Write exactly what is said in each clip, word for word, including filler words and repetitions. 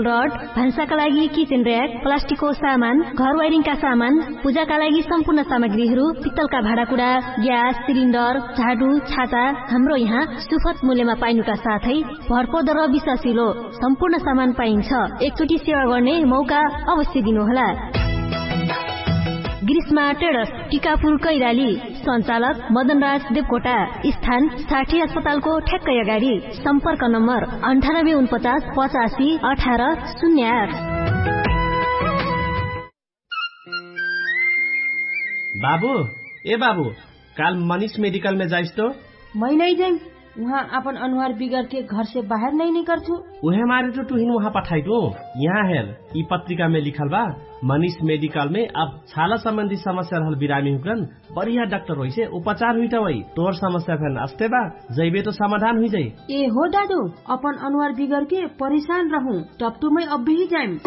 रड, भान्साका लागि kitchen rack, प्लास्टिकको सामान, घर वाइरिङका सामान, पूजाका लागि सम्पूर्ण सामग्रीहरू, पित्तलका भाँडाकुँडा, ग्यास सिलिन्डर, झाडु, छाता हाम्रो यहाँ सुफत मूल्यमा पाइनुका साथै भरपर्दो र विश्वासिलो सम्पूर्ण सामान पाइन्छ। एकचोटि सेवा गर्ने मौका अवश्य दिनुहोला। ग्रीष्मा टेडस, टिकापुर कैराली। सञ्चालक मदनराज देवकोटा। स्थान साठी अस्पतालको ठ्याक्कै अगाडि। सम्पर्क नम्बर अन्ठानब्बे उनपचास पचासी अठार शून्य आठ। बाबु, ए बाबु, काल मनिष मेडिकलमे जाइस तो? मै नै जाइम। उहाँ आपन अनुहार बिगरके घरसे बाहेर नै निकर्छु। उहे मारे तो तुहिन उहाँ पठाइटु। यहाँ हेर, यि पत्रिकामे लिखल बा, मनिष मेडिकलमे अब छाला सम्बन्धी समस्या रहल बिरामी हुकरन बढिया डाक्टर होइसे उपचार हुइटा होइ। तोर समस्या फेन अस्ते बा, जैबे तो समाधान हुइजाइ। ए हो दादु, अपन अनुहार बिगरके परिशान रहु, टप्टुमै अब्बेही जाइम।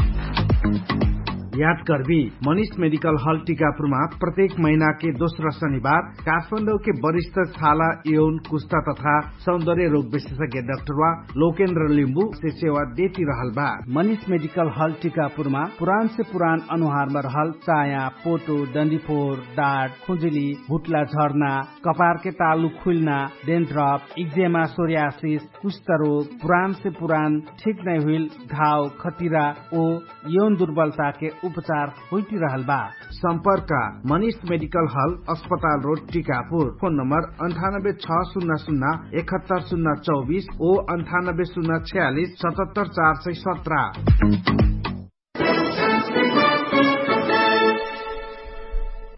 याद कर्बी, मनिष मेडिकल हल टिकापुरमा प्रत्येक महिनाके दोस्रा शनिबार काठमाडौके वरिष्ठ छाला, यौन, कुष्ठा तथा सौन्दर्य रोग विशेषज्ञ डाक्टरवा लोकेन्द्र लिम्बुसे सेवा देति रहल बा। मनिष मेडिकल हल टिकापुरमा पुरानसे पुरान अनुहारमा रहल चाया, पोटो, डन्डीफोर, डाट, खुजुली, भुट्ला झर्ना, कपारके तालु खुइल्ना, डेन्ड्रप, इक्जेमा, सोर्यासिस, कुष्ठरोग, पुरानसे पुरान ठिक नै हुइल घाव, खतिरा ओ यौन दुर्बलताके उपचार हुइटिरहल बा। सम्पर्क मनिष मेडिकल हल, अस्पताल रोड, टिकापुर। फोन नम्बर अन्ठानब्बे छ सुन्ना सुन्ना एकहत्तर सुन्ना चौबिस ओ अन्ठानब्बे सुन्ना छ्यालिस सतहत्तर चार सय सत्र।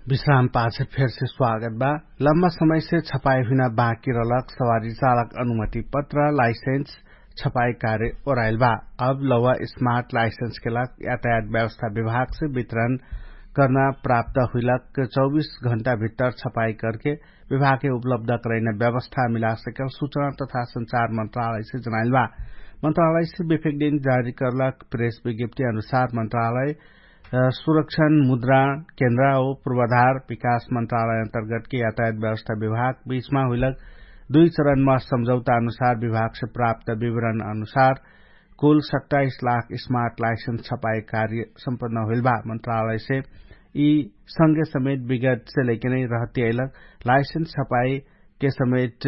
विश्राम पाछे फेरसे स्वागत बा। लम्बा समयसे छपाई हुइना बाँकी रहलक सवारी चालक अनुमति पत्र, लाइसेन्स, छपाई कार्य ओराइल बा। अब लौवा स्मार्ट लाइसेन्सके लाग यातायात व्यवस्था विभागसे वितरण कर्ना प्राप्त हुइलक चौबिस घण्टा भित्तर छपाई करके विभागके उपलब्ध करैना व्यवस्था मिलासकल सुचना तथा सञ्चार मन्त्रालयसे जनाइल बा। मन्त्रालयसे बेफेक दिन जारी कर्लक प्रेस विज्ञप्ति अनुसार मन्त्रालय सुरक्षण मुद्रा केन्द्र ओ पूर्वाधार विकास मन्त्रालय अन्तर्गतके यातायात व्यवस्था विभाग बीचमा हुइलक दुइ चरणमा सम्झौता अनुसार विभागसे प्राप्त विवरण अनुसार कुल सत्ताइस लाख स्मार्ट लाइसेन्स छपाई कार्य सम्पन्न हुइल बा। मन्त्रालयसे यि संगे समेत विगतसे लैके नै रहतियैलक लाइसेन्स छपाईके समेत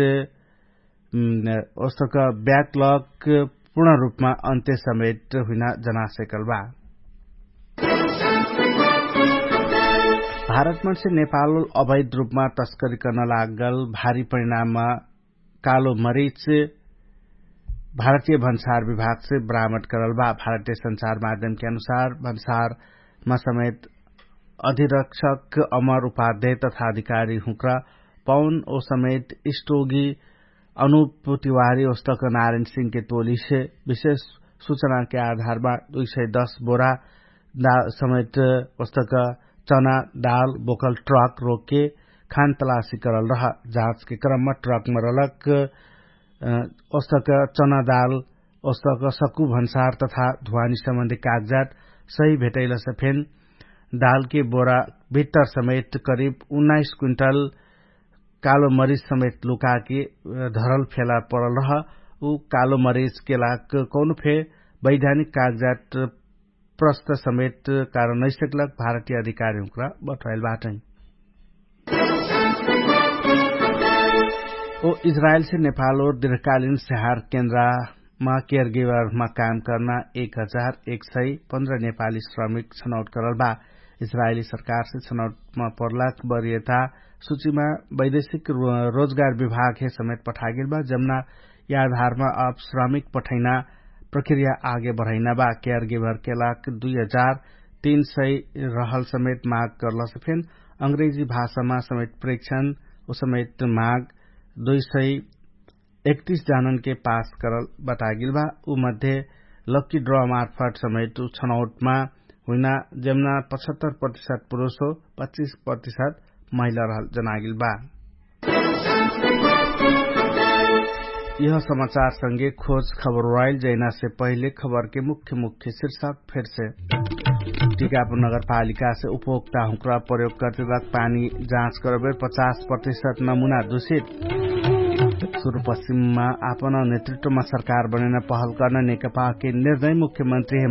ओस्तक ब्याकलक पूर्ण रूपमा अन्त्य समेत हुइना जनासेकल बा। भारतमनसे नेपाल अवैध रूपमा तस्करी कर्न लागल भारी परिणाममा कालो मरिच भारतीय भन्सार विभागसे बरामद करल बा। भारतीय सञ्चार माध्यमके अनुसार भन्सारमा समेत अधिरक्षक अमर उपाध्याय तथा अधिकारी हुँक्रा पौन ओ समेत स्टोगी अनुप तिवारी ओस्तक नारायण सिंहके टोलीसे विशेष सुचनाके आधारमा दुई सय दस बोरा समेत ओस्तक चना दाल बोकल ट्रक रोकके खान तलासी करल रह। जाँचके क्रममा ट्रकमा रलक ओस्तक चना दाल ओस्तक सकु भन्सार तथा धुवानी सम्बन्धी कागजात सही भेटैलसे फेन दालके बोरा भित्तर समेत करिब उन्नाइस क्विन्टल कालो मरिच समेत लुकाके धरल फेला परल रह। उ कालो मरिचके लाग कौनो फे वैधानिक कागजात प्रस्त समेत कारण नैसकलक भारतीय अधिकारी हुँक्रा बठोइल बाटै। ओ इजरायलसे नेपाल ओर दृढकालिन स्याहार केन्द्रमा केयर गिवरमा काम कर्ना एक हजार एक सय पन्ध्र नेपाली श्रमिक छनौट करल बा। इजरायली सरकारसे छनौटमा पर्लाक बरियता सुचिमा वैदेशिक रोजगार विभागहे समेत पठागेल बा। जम्ना याधारमा अब श्रमिक पठैना प्रक्रिया आगे बढैना बा। केयर गिवरके लाग दुई हजार तीन सय रहल समेत माग करलसे फेन अंग्रेजी भाषामा समेत प्रेक्षण ओ समेत माग दुई सय एकतीस जाननके पास करल बतागेल बा। उ मध्ये लक्की ड्र मार्फट समेत उ छनौटमा हुइना जेमना पचहत्तर प्रतिशत पुरुष हो पच्चिस प्रतिशत महिला रहल जनागेल बा। यह समाचार संगे खोज खबर वाइल जैनासे पहिले खबरके मुख्य मुख्य शीर्षक फेरसे टिकापुर नगरपालिकासे उपभोक्ता हुँक्रा प्रयोगकर्तेलक पानी जाँच करबेर पचास प्रतिशत नमुना दुषित। सुरुपश्चिममा आपन नेतृत्वमा सरकार बनेन पहल कर्न नेकपाके निर्णय मुख्यमन्त्री